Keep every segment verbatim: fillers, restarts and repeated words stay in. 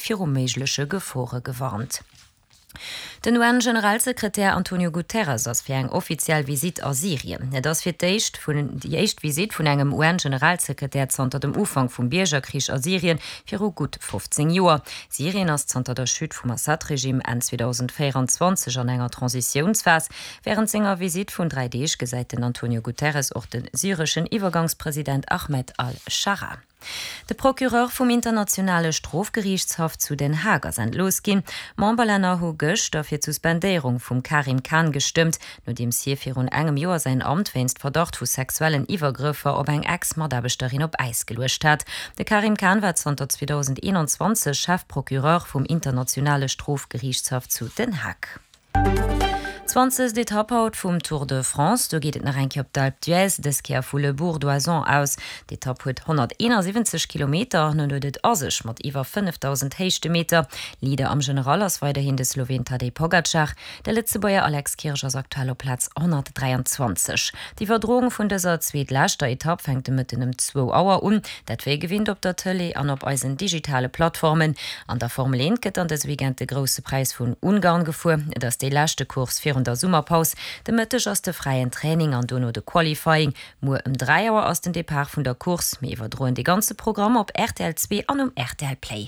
viru méigleche Gefore gewarnt. Den U N-Generalsekretär Antonio Guterres ass fir eng offiziell Visitt a Syrien. Et ass fir d'éischt vun déi éischt Visitt vun engem U N-Generalsekretär zanter dem Ufank vum Biergerkrich a Syrien viru gutt fofzéng Joer. Syrien ass zanter der Chute vum Assad-Regime Enn zweedausendvéierenzwanzeg an enger Transitiounsphas. Wärend senger Visitt vun dräi Deeg gesäit den Antonio Guterres och de syreschen Iwwergangspresident Ahmed al-Scharaa. De Procureur vum Internationale Strofgeriichtshaff zu Den Haag ass entlooss ginn. Memberlänner hu gëschter fir d'Suspendéierung vum Karim Khan gestëmmt, nodeems hie virun engem Joer säin Amt wéinst Verdacht vu sexuellen Iwwergrëffer op eng Ex-Mataarbechterin op Äis geluecht hat. De Karim Khan war zanter zweedausendeenanzwanzeg Chefprocureur vum Internationale Strofgeriichtshaff zu Den Haag. Zwanzegst Etapp haut vum Tour de France, do geet et nach eng Kéier op d'Alpe d'Huez, dës Kéier vu Le Bourg d'Oisans aus. D'Etapp huet honnerteenasiwwenzeg Kilometer an huet et a sech mat iwwer fënnefdausend Héichtemeter. Leader am General ass weiderhin de Sloween Tadej Pogacar. De Lëtzebuerger Alex Kirsch ass aktuell op Plaz honnertdräianzwanzeg. D'Iwwerdroung vun dëser zweetleschter Etapp fänkt de Mëtten ëm zwou Auer un, dat wéi gewinnt op der Tëlee an op eisen digitale Plattformen. An der Formel eent gëtt dann dëse Weekend de Grousse Präis vun Ungarn gefuer. Et ass déi leschte Course virun der Summerpaus. De Mëtteg ass de fräien Training an dono de Qualifying. Muer ëm dräi Auer ass den Depart vun der Course. Mir iwwerdroen de ganze Programm op R T L zwee an um R T L Play.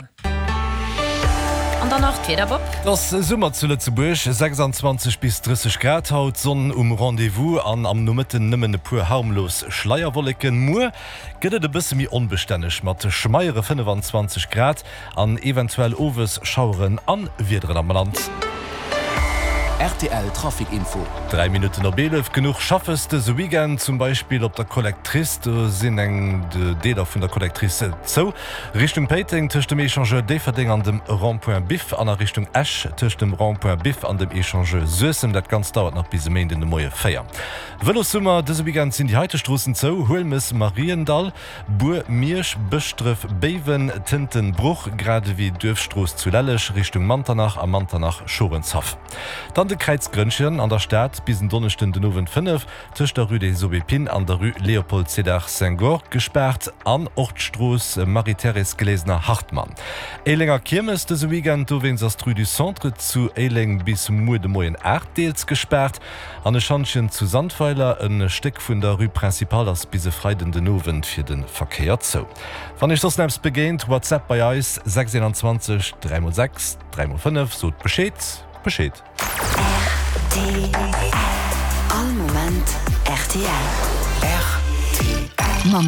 An dann nach d'Wieder, Bob. Et ass Summer zu Lëtzebuerg, sechsanzwanzeg bis drësseg Grad haut, Sonn um Rendez-vous an am Nomëtten nëmmen e puer harmlos Schleierwolleken. Muer gëtt et e bësse méi onbestänneg mat schmeiere fënnefenzwanzeg Grad an eventuell owes Schaueren an Wiederen am Land. R T L Trafic Info. Dräi Minutten op eelef. Genuch Schaffes dëse Weekend, zum Beispill op der Collectrice. Do sinn eng Deeler vun der Collectrice zou. Richtung Péiteng tëscht dem Echangeur Déifferdeng an dem Rond-point Biff an a Richtung Esch tëscht dem Rond-point Biff an dem Echangeur Suessem. Dat Ganzt dauert nach bis e Méinden de Moie véier. Vëlossummer, Dëse Weekend sinn déi heite Stroossen zou, Huelmes, Mariendall, Bur, Miersch, Bëschdref, Béiwen, Tënten, Bruch, grad ewéi d'Duerfstrooss zu Lelleg Richtung Manternach a Manternach, Schorenshaff. Dann de Kräiz Grënnchen an der Stad bis en Donneschden den Owend fënnef tëscht der Rue des Aubépines an der Rue Léopold Sédar Senghor gespaart an och d'Strooss Marie-Thérèse Glesener-Hartmann. Éilenger Kiermes dëse Weekend, dowéinst ass d'Rue du Centre zu Éileng bis muer de Moien aacht deels gespaart. An e Schantjen zu Sandweiler, e Stéck vun der Rue Principale ass bis e Freiden den Owend fir de Verkéier zou. Wann iech soss eppes begéint, WhatsApp bei eis, sechs eenanzwanzeg dräi mol sechs dräi mol fënnef, sot Bescheed, Bescheed. R T L. All Moment R T L. R